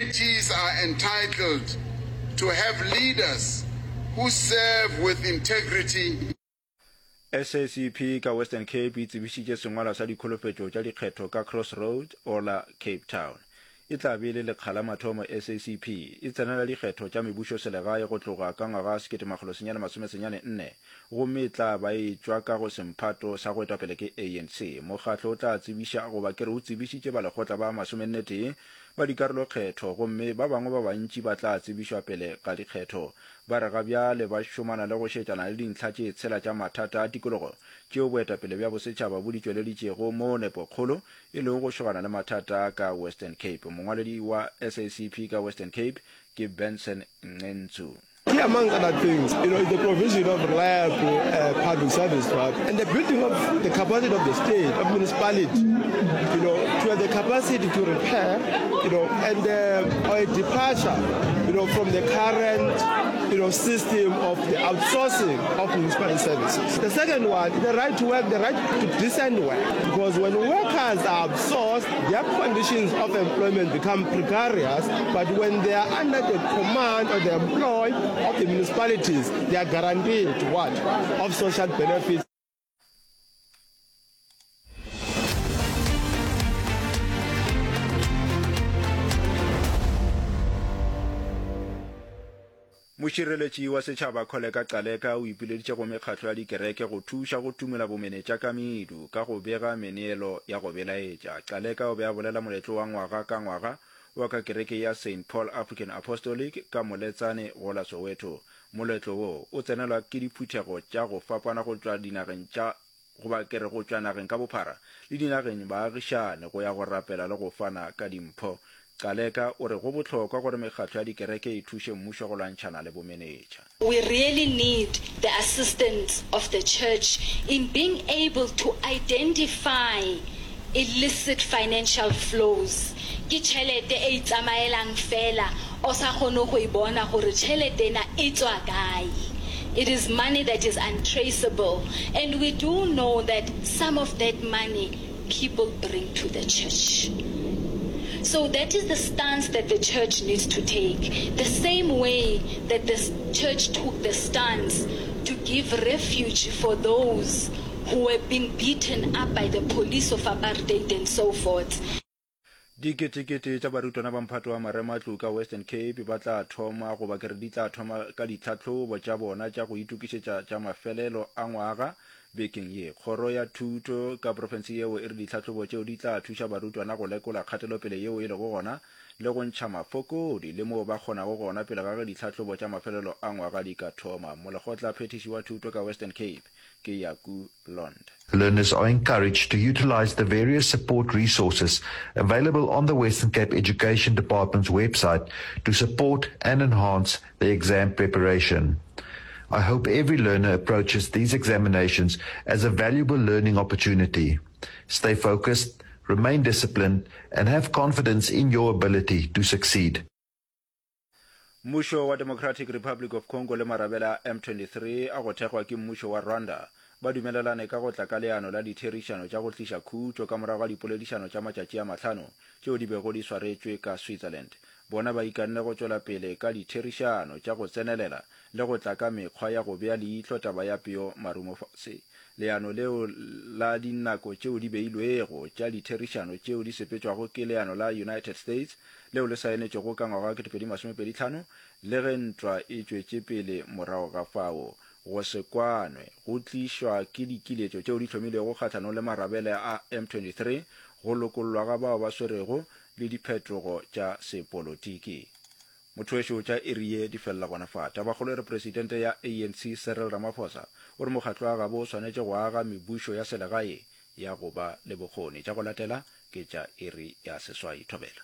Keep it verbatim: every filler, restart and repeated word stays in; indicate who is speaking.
Speaker 1: Communities are entitled to have leaders who serve with integrity.
Speaker 2: SACP ka Western Cape e tsebišitše sengwalwa sa dikholofetšo tša dikgetho ka Crossroads gola Cape Town. E tla be e le lekga la mathomo SACP e tsenela dikgetho tša mebušoselegae go tloga ka ngwaga wa sekete makgolo senyane masome senyane nne gomme e tla ba e tšwa ka go semphato sa go etwa pele ke ANC. Mokgatlo o tla tsebiša goba ke re o tsebišitše balekgotla ba masomenne tee ba dikarolokgetho gomme ba bangwe ba bantši ba tla tsebišwa pele ga dikgetho. Ba re ga bjale ba šomana le go šetšana le dintlha tše tshela tša mathata a tikologo tšeo boetapele bja bosetšhaba bo di tšweleditšego moo nepokgolo e lego go šogana le mathata ka Western Cape. Mongwaledi wa SACP ka Western Cape ke Benson Ncentsu.
Speaker 3: Key among other things, you know, is the provision of reliable uh, public service, right? And the building of the capacity of the state, of municipality, you know, to have the capacity to repair, you know, and uh, or a departure, you know, from the current, you know, system of the outsourcing of municipal services. The second one, the right to work, the right to decent work, because when workers are outsourced, their conditions of employment become precarious, but when they are under the command or the employ of the municipalities, they are guaranteed what? Of social benefits.
Speaker 2: Mošireletši wa setšhaba Kholeka Gcaleka o ipileditše go mekgatlo ya dikereke go thuša go tumola bomenetša ka medu ka go bega meneelo ya go belaetša. Gcaleka o be a bolela moletlo wa ngwaga ka ngwaga wa ka kereke ya Saint Paul African Apostolic ka Moletsane go la Soweto. Moletlo wo o tsenelwa ke diphuthego tša go fapana go tšwa dinageng tša goba ke re go tšwa nageng ka bophara le dinageng baagišane go ya go rapela le go fana ka dimpho. Gcaleka o re go bohlokwa gore mekgatlo ya dikereke e thuše mmušo go lwantšhana le bomenetša.
Speaker 4: We really need the assistance of the church in being able to identify illicit financial flows. Ke tšhelete e itsamaelang fela o sa kgone go e bona gore tšhelete ena e tswa kae. It is money that is untraceable, and we do know that some of that money people bring to the church. So that is the stance that the church needs to take. The same way that the church took the stance to give refuge for those who were being beaten up by the police of apartheid and so forth.
Speaker 2: Diketekete tša barutwana ba mphato wa marematlou ka Western Cape ba tla thoma goba ke re di tla thoma ka ditlhahlobo tša bona tša go itokišetša tša mafelelo a ngwaga bekeng ye. Kgoro ya Thuto ka profense yeo e re ditlhahlobo tšeo di tla thuša barutwana go lekola kgatelopele yeo e lego gona le go ntšha mafokodi le moo ba kgonago gona pele ga ge ditlhahlobo tša mafelelo a ngwaga di ka thoma. Molekgotla phethiši wa thuto ka Western Cape ke Yaku Lond.
Speaker 5: Learners are encouraged to utilize the various support resources available on the Western Cape Education Department's website to support and enhance their exam preparation. I hope every learner approaches these examinations as a valuable learning opportunity. Stay focused, remain disciplined, and have confidence in your ability to succeed.
Speaker 2: Mmušo wa Democratic Republic of Congo le marabele a M twenty-three a go thekgwa ke mmušo wa Rwanda ba dumelelane ka go tla ka leano la ditherišano tša go tliša khutšo ka morago ga dipoledišano tša matšatši a mahlano tšeo di bego di swaretšwe ka Switzerland. Bona ba ikanne go tšwela pele ka ditherišano tša go tsenelela le go tla ka mekgwa ya go bea leihlo taba ya peo marumo fase. Leano leo la dinako tšeo di beilwego tša ditherišano tšeo di sepetšwago ke leano la United States leo le saenetšwego ka ngwaga wa kete pedi masome pedi hlano le ge ntwa e tšwetše pele morago ga fao. Go se kwanwe go tlišwa ke dikiletšo tšeo di hlomilwego kgahlanong le marabele a M twenty-three, go lokollwa ga bao ba swerwego le diphetogo tša sepolotiki. Mothowešu, tša iri ye di felela gona fa. Tabakgolo e re Presidente ya A N C Cyril Ramaphosa o re mokgatlo wa gabo o swanetše go aga mebušo ya selegae ya go ba le bokgoni. Tša go latela ke tša iri ya seswai. Thobela.